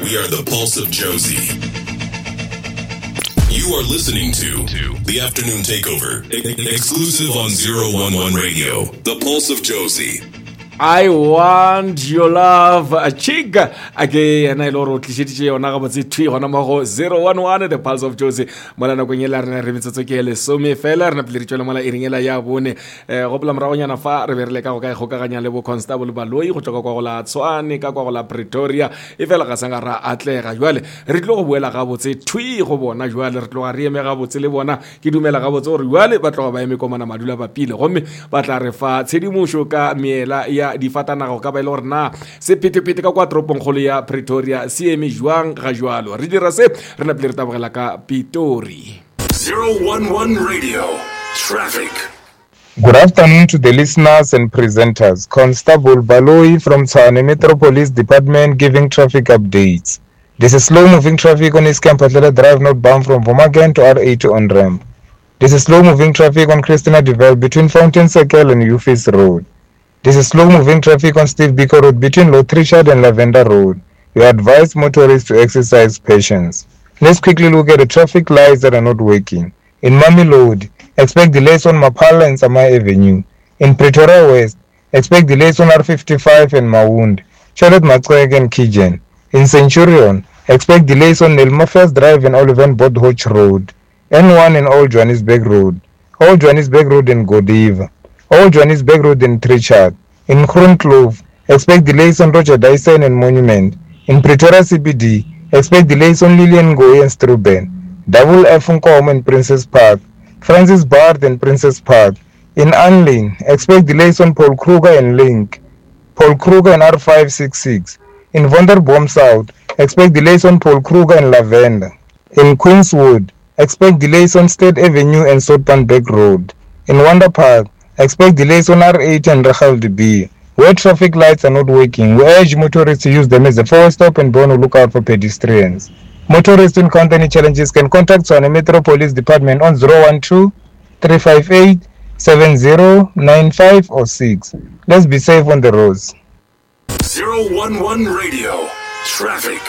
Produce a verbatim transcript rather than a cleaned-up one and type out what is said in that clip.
We are the pulse of Jozi. You are listening to the Afternoon Takeover, exclusive on zero one one Radio, the pulse of Jozi. I want your love, a chick. A ke yena e le gore o tlišeditše yona gabotse thwi gona mo go zero one one, the pulse of Jozi. Mola nakong e la rena re metsotso ke lesome fela, re napile re tšwele mola iring ela ya bone. Eh, gopola moragonyana fa re be re leka go ka ikgokaganya le bo Constable Baloyi go tšwa ka kwa go la Tshwane, ka kwa go la Pretoria, e fela ga sa ra atlega. Jwale re tlo go boela gabotse thwi go bona, jwale re tloga re eme gabotse le bona. Ke dumela gabotse gore jwale ba tloga ba eme komana madula bapile, gomme ba tla re fa tshedimošo ka meela ya difatanaga go ka ba e le gore na sephethephethe ka kwa toropongkgolo ya Pretoria se eme jwang ga jwalo. Re dira se re napile re tabogela ka Pitori. zero one one Radio Traffic. Good afternoon to the listeners and presenters. Constable Baloyi from Tshwane Metro Police Department giving traffic updates. This is slow moving traffic on East Mphahlele Drive northbound from Vomagen to R eighty on ramp. This is slow moving traffic on Christina Devel between Fountain Circle and Ufis Road. This is slow moving traffic on Steve Biko Road between Lord Richard and Lavender Road. We advise motorists to exercise patience. Let's quickly look at the traffic lights that are not working. In Mamelodi, expect delays on Maphala and Samai Avenue. In Pretoria West, expect delays on R fifty-five and Maund, Charlotte Maxeke and Kijen. In Centurion, expect delays on Nelmafias Drive and Oliven Bodhoch Road, N one and Old Johannesburg Road, Old Johannesburg Road and Godiva, Old Johannesburg Road and Trichardt. In Groenkloof, expect delays on Roger Dyson and Monument. In Pretoria C B D, expect delays on Lilian Ngoyi and Struben, Double F Nkomo and Princess Park, Francis Baard and Princess Park. In Anlin, expect delays on Paul Kruger and Link, Paul Kruger and R five six six. In Wonderboom South, expect delays on Paul Kruger and Lavender. In Queenswood, expect delays on State Avenue and Soutpansberg Road. In Wonder Park, expect delays on R eight and Rachel D B. Where traffic lights are not working, we urge motorists to use them as a forward stop and be on the lookout for pedestrians. Motorists who encounter any challenges can contact Tshwane Metro Police Department on zero one two, three five eight, seven zero nine five or six. Let's be safe on the roads. zero one one Radio Traffic.